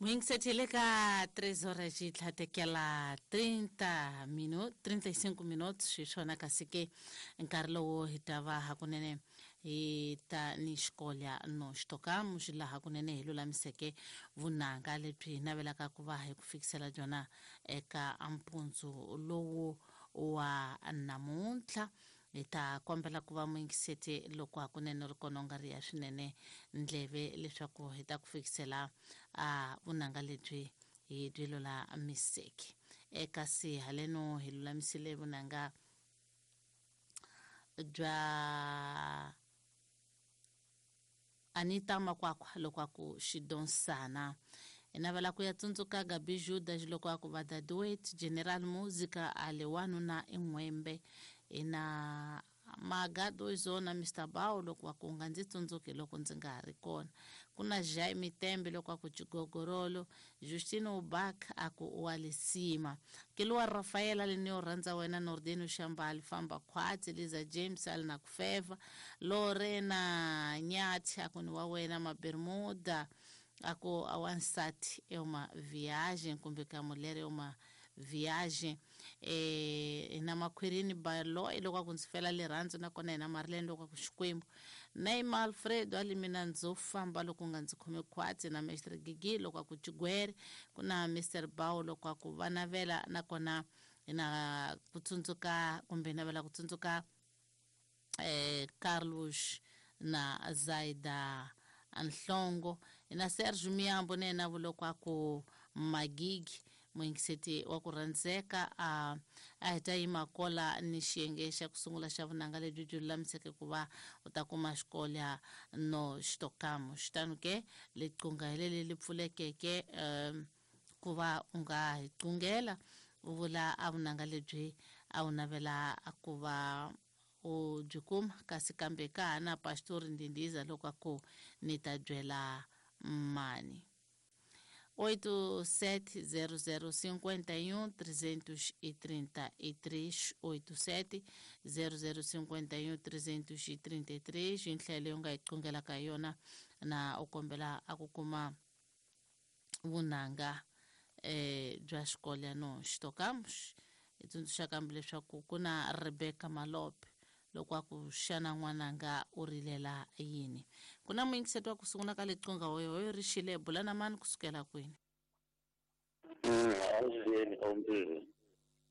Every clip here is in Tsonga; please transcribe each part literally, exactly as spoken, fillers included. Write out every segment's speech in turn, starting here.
Muingisethile ka três horas de tlhatekela trinta minutos, trinta e cinco minutos xiswona kasi ke nkarhi lowu hi ta va hakunene hi ta ni xikolya no xitokamos laha kunene hi lulamiseke vunanga lebyi hi navelaka ku va hi ku fikisela byona eka mpundzu lowu wa namuntlha. Hi ta kombela ku va muyingiseti loko hakunene ri kona u nga ri ya swinene ndleve leswaku hi ta ku fikisela a vunanga lebyi hi byi lulamiseke. Eka si haleno hi lulamisile vunanga bya Anita Makwakwa loko a ku xidonsana. Hi navela ku ya tsundzuka Gabi Juda loko a ku va Daduet General Musica a le wanuna en'wembe. Ina Magado Zona Mister Bao loko a ku nga ndzi tsundzuki loko ndzi nga ha ri kona. Ku na Jaime Tembe loko a ku Chigogorolo, Justino Bak a ku wa Lesima, Keluwa Rafaela Leneo rhandza wena, Nordino Shambali famba khwatsi, Liza James ali na kufeva, Lorena Nyathi a ku ni wa wena, Mabermuda a ku a wansati é uma viagem kumbe ka mulher é uma viagem. Eh na Makhwirini Baloyi loko a ku ndzi fela rirhandzu, nakona hina Marilene loko a ku Xikwembu, Neymar Alfredo ali mina ndzo famba loko nga ndzi khome khwatsi, na Mestre Gigi loko a ku Chigwere, ku na Mister Bao loko a ku va navela, nakona hina ku tsundzuka kumbe navela ku tsundzuka eh Carlos na Zaida Nhlongo, na Sergio Miyambo na yena loko a ku Magigi muyingiseti wa ku rhandzeka. A a hi ta yima kola ni xiyenge xa ku sungula xa vunanga lebyi byi lulamiseke ku va u ta kuma xikolya no xitokamo. Xitano ke liqunga hi leli li pfulekeke um ku va u nga hi qungela u vula a vunanga lebyi a wu navela ku va u byi kuma. Kasi kambe ka ha na Pastor Ndindiza loko a ku ni ta byela mani. Oito sete zero zero cinquenta e um trezentos e trinta e três, oito sete zero zero cinquenta e um trezentos e trinta e três. Nhlayo leyi u nga yi qungelaka hi yona na u kombela a ku kuma vunanga eh bya xikolya no xitokamos. Hi tsundzuxa kambe leswaku ku na Rebecca Malope loko a ku xana n'wananga u rilela yini. Ku na muyingiseti wa ku sungula ka liqunga hoyohoyo ri xile bula na mani kusukela kwini? Avuxeni ombili.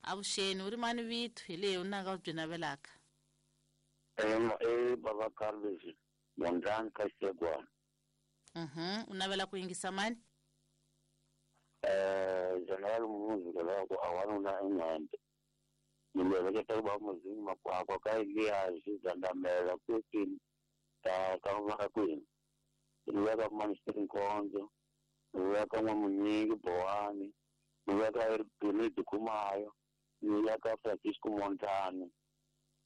Avuxeni, u ri mani vito hi leyi u nanga u byi navelaka? E baba Carlos Mondlane ka Xegwana. Mhm, u navela ku yingisa mani? Eh General Musica loko a wanuna en'wembe. Ni leketa ku va muzingi makwakwa ka Elias Zandamela kwini ka ka va kwini. Ni veka Minister Nkonzo, ni veka N'wamunyingi Bowani, ni veka Eribini Dikumayo, ni veka Francisco Montana.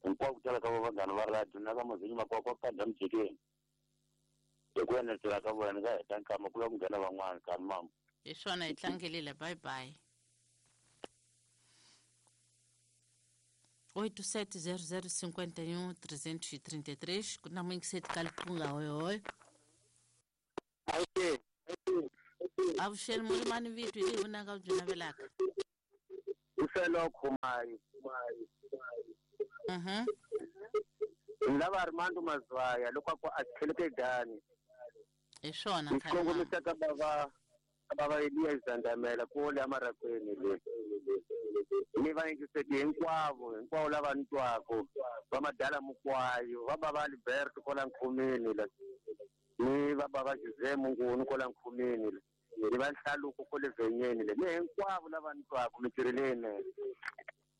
Hinkwako ku tala ka vanghana va radio na ka muzingi makwakwa ka Damjikeni. Hi ku enetela ka vona ka heta nkama ku lava ku nghena van'wana ka mama. Hi swona hi tlangelile, bye bye. Oito sete zero zero cinquenta e um trezentos e trinta e três. Ku na muyingiseti ka liqunga hoyohoyo. Avuxeni murimani vito hi leyi vunanga u byi navelaka? Ufelo Khumayo. Mhm. Lava Armando Mazwaya loko a ku a tlheleke dani. Hi swona Ni kongomisa ka bava bava Elias Zandamela ku le amarakweni le. Ni va yingiseti hinkwavo hinkwavo lava ni twako va madala Mukwayo, va bava Alberto kwala Nkhumeni le, ni va bava Jose Munguni kwala Nkhumeni le, ni va Nhlaluko kwale Venyeni le, ni hinkwavo lava ni twako mintirho leyinene.